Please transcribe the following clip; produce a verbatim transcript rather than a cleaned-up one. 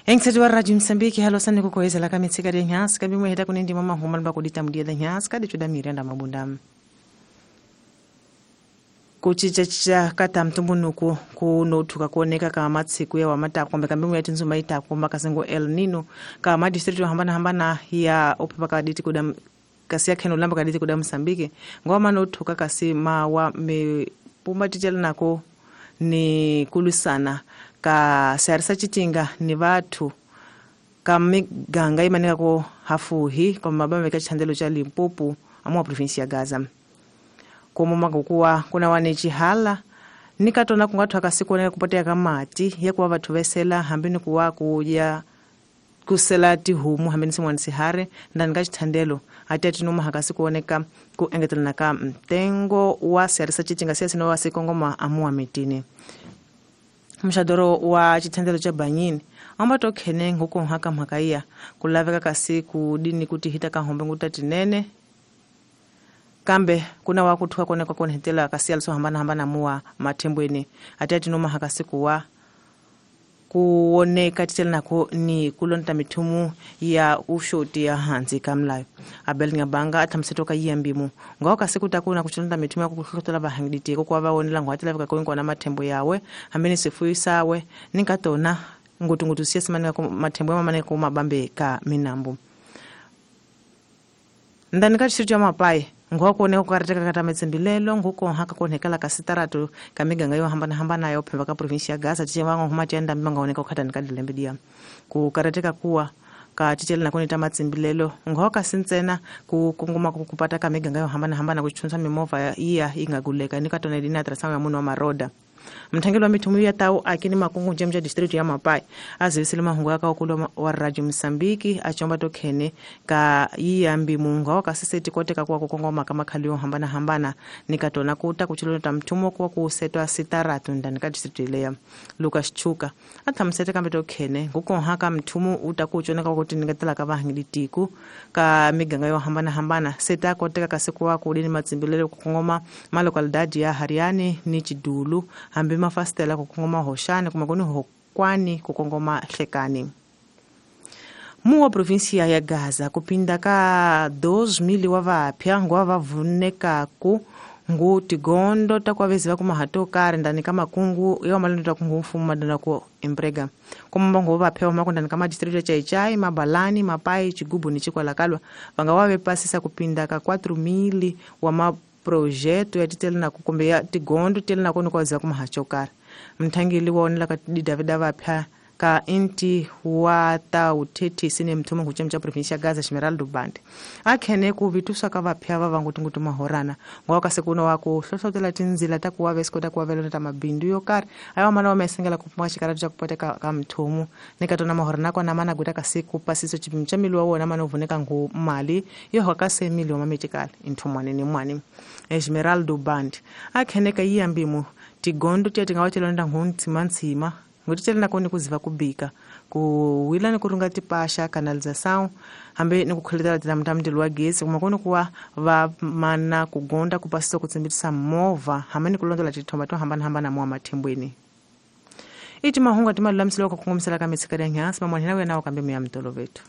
Engsethu wa Radio Msambiki halo sani kukohezela ka mitsika de nyasi ka bimwe heta kunindi mama huma lba kudita mudiela nyasi ka dichuda mirenda mabunda. Kuchichacha kata mtumbunuku kunotuka kuoneka kama matsiku ya wamata kombe kambimu ya tinzuma ita komba kasengo El Nino kama district hambana hambana ya opepa kaditi kuda kasi ya keno lamba kaditi kuda Msambiki ngoma notuka kasi mawa me pumba tijela nako ni kulusana ka sarisa chitinga ni watu kamiganga imanika ko hafuhi kwa mabambe ka chandelo cha Limpopo amwa province ya Gaza. Komo makuwa kuna wanechihala nikatona kungathu akasikone kupotea kamati yakuwa vathu vesela hambini kuwa kuya kusela tihumu hambini simwani sihare ndani ka chithandelo ati atinuma hakasikuoneka ku engetelana ka mtengo wa siarisa chitinga siasi no wasikongoma amuwa mitini. Mshadoro wa chithandelo cha Banyini ambato khene nguko haka mhakaiya kulaveka kasi kudini kuti hita kahombe ngutatinene kambe kuna wakuthuka kone kwa kone hetela kasi aliso hambana hambana muwa matembweni ati atinoma hakasikuwa kuoneka titela nako ni kulonta mithumu ya ushoti ya hanzi kamlayo Abel Ngabanga athamsetoka yiyambimu ngawo kasikutakuna kuchilonta mithumu ya kukuhlotola vahangiditiko kwa vaonela ngwatela vikakoinkwa na mathembo yawe hambeni sifuyi sawe ninkatona ngutungutu siya simanika mathembo yamamaneka kumabambe ka minambo ndani ka district ya Mapai ngwakuoneka kukarateka kata metsembilelo nguko haka kuonekala kasitaratu kamiganga yo hambana hambana yo phemba ka province ya Gaza tiche vango huma tienda mbanga oneka kukhata nikadilembedia kukarateka kuwa ka tichela nakoni ta matsembilelo ngoka sintsena ku kunguma kupata kamiganga yo hambana hambana kuchunsa mimova iya ingaguleka nikatona dina trasanga munhu wa maroda. Mthangelo wa mithumu ya tau akini makungu njemja district ya Mapai azivisile mahungu yaka okulo wa Radio Msambiki achomba tokhene ka yiyambi munga wakasiseti koteka kuwa kukongoma kama khaliyo hambana hambana nikatona kuta kuchilota mthumo kuwa kusetwa sitaratu ndani ka district leya. Lucas Chuka athamsete kambe tokhene ngukonha mthumu utakuchoneka kuti nikatela ka vahangiditiku ka miganga yo hambana hambana seta koteka kasikuwa kudini matsimbilelo kukongoma malokalidadi ya Hariani ni Chidulu hambi mafastela kukongoma hoshani kumakoni hokwani kukongoma hlekani. Muwa provinsia ya Gaza kupinda ka dos mil wa vapya ngwa vavuneka ku ngu tigondo takwavezi vakumahato kare ndani ka makungu ya malendo takungu mfumo madana ku emprega kumbango vapya wa makundani kama district ya Chaichai Mabalani Mapai Chigubu ni Chikwalakalwa vanga wave pasisa kupinda ka quatro mil wa ma projeto ya titele na kukombe ya tigondo tele na kono kwaza kumahachokara mthangeli waonela ka Davida vapya ka inti wa ta uthethisi ne mthumo nguchemcha province ya Gaza Esmeralda Band akhene ku vitusa ka vapya va vangutingutu mahorana ngoka sekuno wa ku hlohlotela tinzila ta kuwa vesikota kuwa velona ta mabindu yo karhi ayo mana wa mesengela ku pfuma xikaratu xa ku poteka ka mthumo nikatona mahorana kona mana guta ka siku pasiso chipimo xa mili wa wona mana vuneka ngu mali yo hoka se mili wa mametikala inthumwane ni mwani Esmeralda Band akhene ka yiyambimo tigondo tiya tingawachelonda nguntsimantsima ngutitshela nakoni kuziva kubika kuwila ni kurunga tipasha canalização hambe ni kukhuletela tilamtamndilo wa gesi kuma koni kuwa va mana kugonda kupasisa kutsimbitisa movha hambe ni kulondola tithomba to hambanahambana muwa mathembweni iti mahungu timalulamisela ku kongomisela ka mitsika ya nyasi mamwanhina wena wa kambe muya mtolovetu.